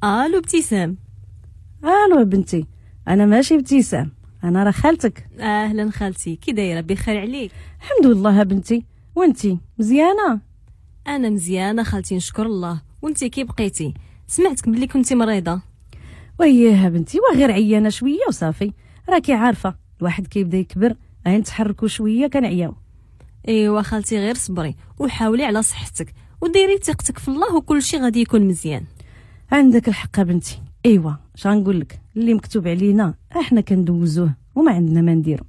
الو ابتسام. الو بنتي، انا ماشي ابتسام، انا راه خالتك. اهلا خالتي، كي دايرة؟ بخير عليك؟ الحمد لله بنتي، وانتي مزيانه؟ انا مزيانه خالتي نشكر الله. وانتي كي بقيتي؟ سمعتك بلي كنتي مريضه. وياه بنتي، وغير عيانه شوية وصافي، راكي عارفه الواحد كيبدا يكبر، غير نتحركوا شوية كنعياو. ايوا خالتي غير صبري وحاولي على صحتك وديري ثقتك في الله وكل شيء غادي يكون مزيان. عندك الحق بنتي. ايوا اش غنقول لك، اللي مكتوب علينا احنا كندوزوه وما عندنا ما نديرو.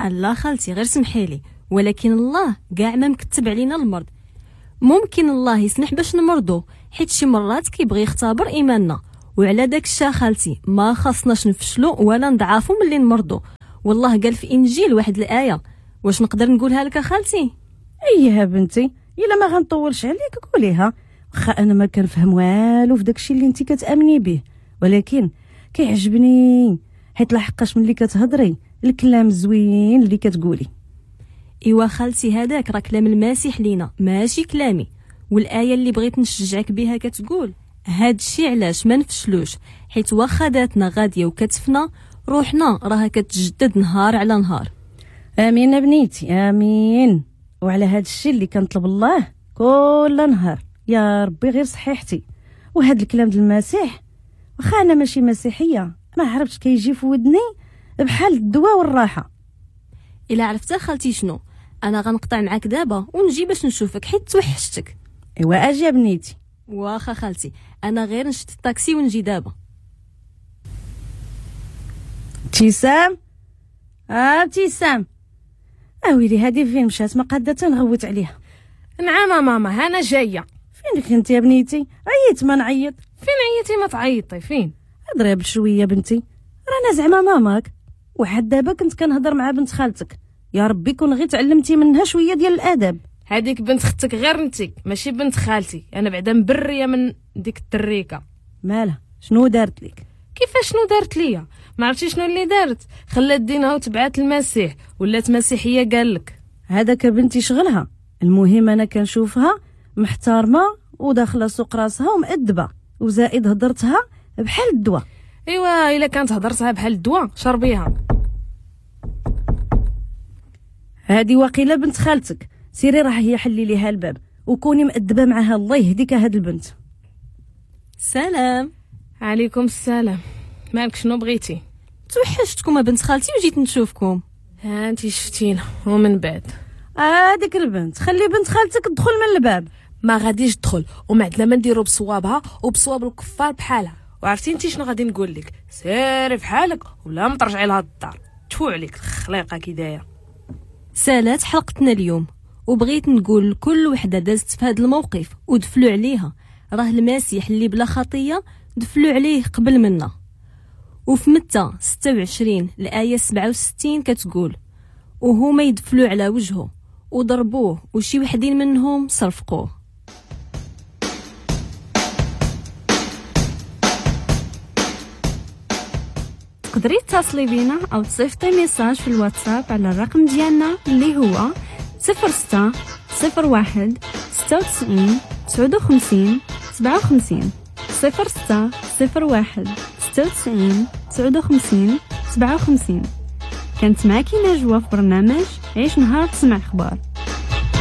لا خالتي غير سمحي لي، ولكن الله كاع ما مكتب علينا المرض. ممكن الله يسمح باش نمرضو، حيت شي مرات كيبغي يختبر ايماننا، وعلى داك الشيء خالتي ما خاصناش نفشلو ولا نضعفو ملي نمرضو. والله قال في انجيل واحد الايه، واش نقدر نقولها لك خالتي؟ اييه بنتي، الا ما غنطولش عليك قوليها، واخا انا ما كنفهم والو في داكشي اللي انت كتامني به، ولكن كيعجبني حيت لحقاش ملي كتهضري الكلام زوين اللي كتقولي. ايوا خالتي هذاك راه كلام المسيح لينا ماشي كلامي. والايه اللي بغيت نشجعك بها كتقول هادشي علاش ما نفشلوش، حيت واخا ذاتنا غادية وكتفنا، روحنا راها كتجدد نهار على نهار. امين بنيتي امين. وعلى هادشي اللي كنطلب الله كل نهار يا ربي غير صحيحتي. وهاد الكلام ديال المسيح، واخا انا ماشي مسيحية، ما عرفتش كيجي في ودني بحال الدواء والراحة. الا عرفتها خالتي شنو، انا غنقطع معاك دابا ونجي باش نشوفك حيت توحشتك. ايوا اجي بنيتي. واخا خالتي، انا غير نشد الطاكسي ونجي دابا. ابتسام، ابتسام، اويلي هادي فين مشات؟ ما قاده تنغوت عليها. نعم ماما، انا جاية. فين كنتي يا بنيتي؟ عييت ما نعيط. فين عييتي ما تعيطي؟ فين؟ هضري بشوية بنتي، رانا زعما ماماك. وحد دابا كنت كنهضر مع بنت خالتك، يا ربي كون غير تعلمتي منها شوية ديال الادب. هذيك بنت اختك غير انتي، ماشي بنت خالتي. انا بعدا مبريه من ديك التريكه. مالها؟ شنو دارت لك؟ كيفاش شنو دارت ليا؟ ما عرفتي شنو اللي دارت؟ خلات دينها وتبعات المسيح، ولات مسيحية قالك. هذاك بنتي شغلها. المهم انا كنشوفها محترمه وداخله سوق راسها ومؤدبه، وزائد هضرتها بحال الدواء. ايوا الا كانت هضرتها بحال الدواء شربيها. هادي واقيلا بنت خالتك، سيري راه هي حلي ليها الباب وكوني مؤدبة معها. الله يهديك هاد البنت. سلام. عليكم السلام. مالك شنو بغيتي؟ توحشتكم بنت خالتي وجيت نشوفكم. ها انت شفتينا ومن بعد هاديك البنت، خلي بنت خالتك تدخل من الباب. ما غاديش تدخل، وما عندنا ما نديرو بصوابها وبصواب الكفار بحالها. وعرفتي انت شنو غادي نقول لك؟ سيري في حالك ولا ما ترجعي لهاد الدار. تفو عليك الخليقة كي دايرة. سالات حلقتنا اليوم، وبغيت نقول لكل وحده دازت في هذا الموقف ودفلوا عليها، راه المسيح اللي بلا خطيه دفلوا عليه قبل منا. وفي متى 26 الآية 67 كتقول وهما يدفلوا على وجهه وضربوه وشي وحدين منهم صرفقوه. تقدري تتصلي بينا او تصيفطي message في الواتساب على الرقم ديالنا اللي هو 06 01 96 59 57 06 01 96 59 57. كانت معك نجوى في برنامج عيش نهار تسمع اخبار.